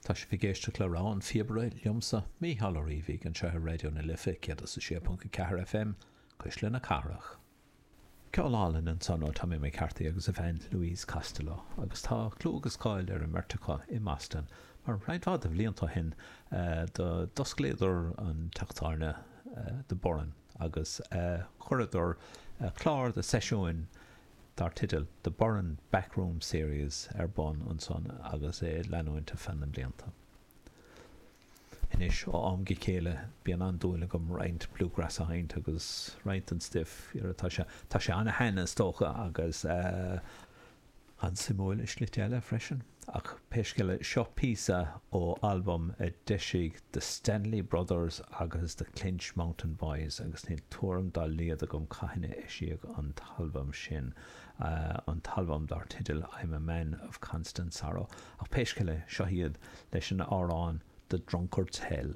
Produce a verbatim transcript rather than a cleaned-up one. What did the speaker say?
Tá sibh ag éisteacht le Rogha an Phíobaire liomsa, Mícheál Ó Riabhaigh, anseo ar Raidió na Life céad is a sé ponc a ceathair FM, Cuisle na Cathrach. Ceol álainn ansan ó Tommy McCarthy agus a bhean Louise Costello, agus tá clú agus cáil ar an mbeirt acu i mBoston mar roinnt mhaith de bhlianta ó shin d'osclaíodar an teach tábhairne The Burren agus chuireadar clár de seisiúin dar teideal The Burren Backroom Series ar bun ansan agus é ag leanúint ar feadh na mblianta. Anois, ó am go chéile, bíonn an-dúil agam roinnt bluegrass a sheinnt agus roinnt den stuif, tá sé, tá sé an-shean is dócha agus an-suimiúil i slite eile freisin. Ach pé scéal é, seo píosa ó albam a d'eisigh The Stanley Brothers agus The Clinch Mountain Boys agus níl tuairim dá laghad agam cathain a eisíodh an t-albam sin, an t-albam dar teideal I'm a Man of Constant Sorrow. Ach pé scéal é, seo iad leis an amhrán The Drunkard's Hell.